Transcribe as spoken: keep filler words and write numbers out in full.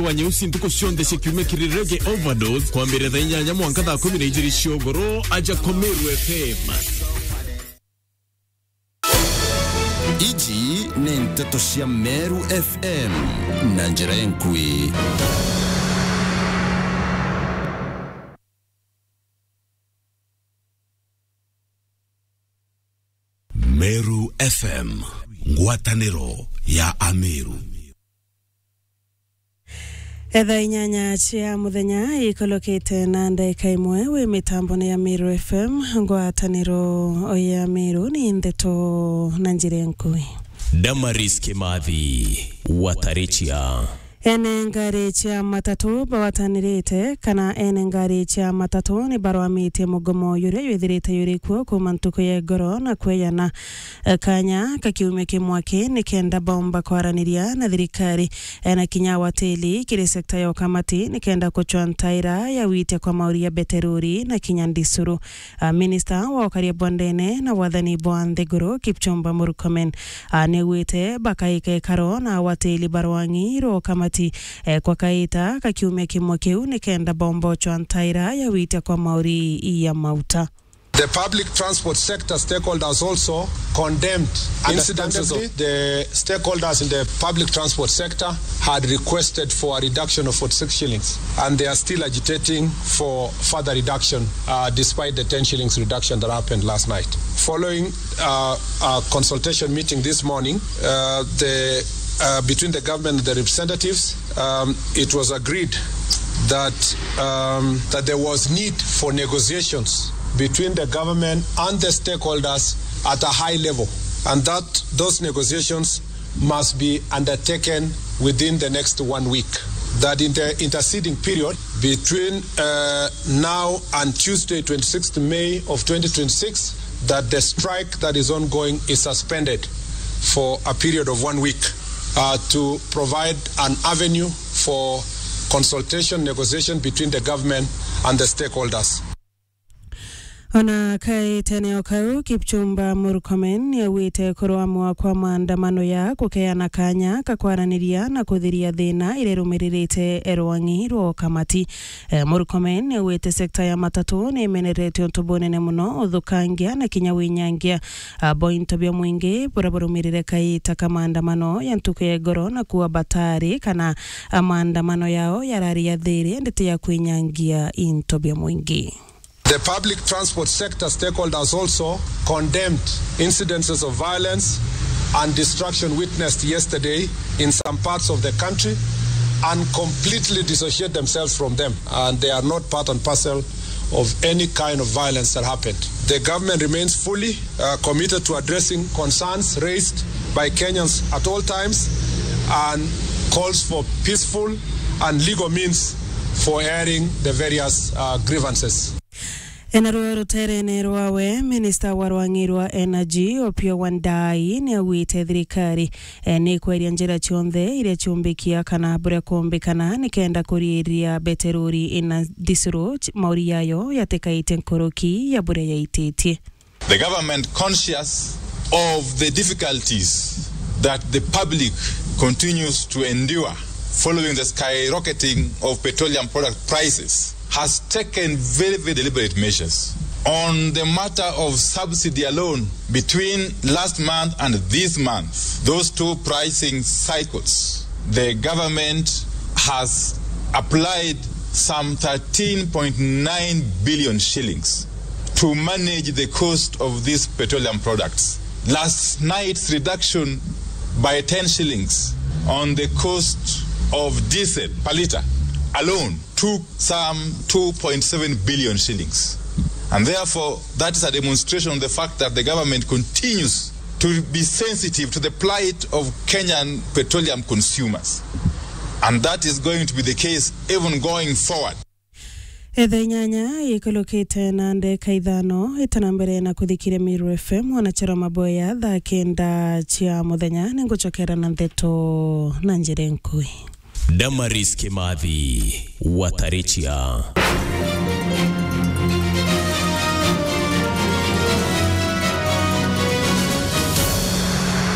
wa Nyeusi ntuku cionthe cia kiumia kiri Reggae Overdose, kwambiriria thaa inyanya mwanka thaa kumi na ijiri cia ugoro, aja kwa Meru F M. Iji ni nteto cia Meru F M na njira enkui. Meru F M, ngwataniro ya Ameru. Etha inyanya cia muthenya ikolokete na ndaika imwe wi mitambone ya Meru F M, ngwataniro ya Meru ni ndeto na njira enkui. Damaris Kimathi, Watarichia. Ene ngari cia matatu bawatanirite kana ene ngari cia matatu ni barwamitie mugomo juria jwithirite juri kuo kuuma ntuku ya igoro na kweyana, eh, kanya ka kiumia kimwe ki ni kenda baumba kwaraniria na thirikari, eh, na kinya wateli kiri sekta ya ukamati ni kenda kuchwa ntaira ya witia kwa mauri ya beterori na kinya ndisuru. Ah, minista wa ukaria bwa ndene na wathani bwa nthiguru, Kipchumba Murkomen, ah, niaugite bakaika ikaro na awatili barwang'i rwa ukamati, eh, kwa kaita ka kiumia kimwe kiu ni kenda bombochwa ntaira ya witia kwa mauri ya mauta. The public transport sector stakeholders also condemned incidences of the stakeholders in the public transport sector had requested for a reduction of forty-six shillings, and they are still agitating for further reduction, uh, despite the ten shillings reduction that happened last night. Following, uh, a consultation meeting this morning, uh, the, uh, between the government and the representatives, um, it was agreed that, um, that there was need for negotiations between the government and the stakeholders at a high level, and that those negotiations must be undertaken within the next one week. That in the interceding period between, uh, now and Tuesday, twenty-sixth May of twenty twenty-six, that the strike that is ongoing is suspended for a period of one week, uh, to provide an avenue for consultation, negotiation between the government and the stakeholders. Ona kaitene o kau, Kipchumba Murkomen niaugite kurwamwa kwa maandamano ya kukeana kanya ka kwaraniria na kuthiria thina iria irumiririte rwang'i rwa ukamati. Eh, Murkomen niaugite sekta ya matatu nimenerete untu bunene muno uthukangia na kinya winyangia, ah, bwa into bia mwingi buria burumirire kaita ka maandamano ya ntuku ya igoro na kuua batari kana, ah, maandamano yao yarari ya thiri ndete ya kwinyangia into bia mwingi. The public transport sector stakeholders also condemned incidences of violence and destruction witnessed yesterday in some parts of the country and completely dissociate themselves from them, and they are not part and parcel of any kind of violence that happened. The government remains fully, uh, committed to addressing concerns raised by Kenyans at all times and calls for peaceful and legal means for airing the various, uh, grievances. Ena ruo ruterene rwawe, minista wa rwang'i rwa energy, Opiyo Wandayi, niaugite thirikari, eh, ni kweria njira cionthe iria ciumbikia kana buria kuumbikana ni kenda kuriiria beterori ina ndisuru ch-, mauri yayo yatikaitie nkuruki ya buria yaititie. The government, conscious of the difficulties that the public continues to endure following the skyrocketing of petroleum product prices, has taken very, very deliberate measures. On the matter of subsidy alone, between last month and this month, those two pricing cycles, the government has applied some thirteen point nine billion shillings to manage the cost of these petroleum products. Last night's reduction by ten shillings on the cost of diesel per litre alone took some two point seven billion shillings. And therefore, that is a demonstration of the fact that the government continues to be sensitive to the plight of Kenyan petroleum consumers. And that is going to be the case even going forward. Etha inyanya ikulukite na ndeka ithano itana mbere na kuthikiria Meru F M, wanachara maboya thaa kenda cia muthenya, ningucokera na ndeto na njira nkui. Damaris Kimathi, Watarichia.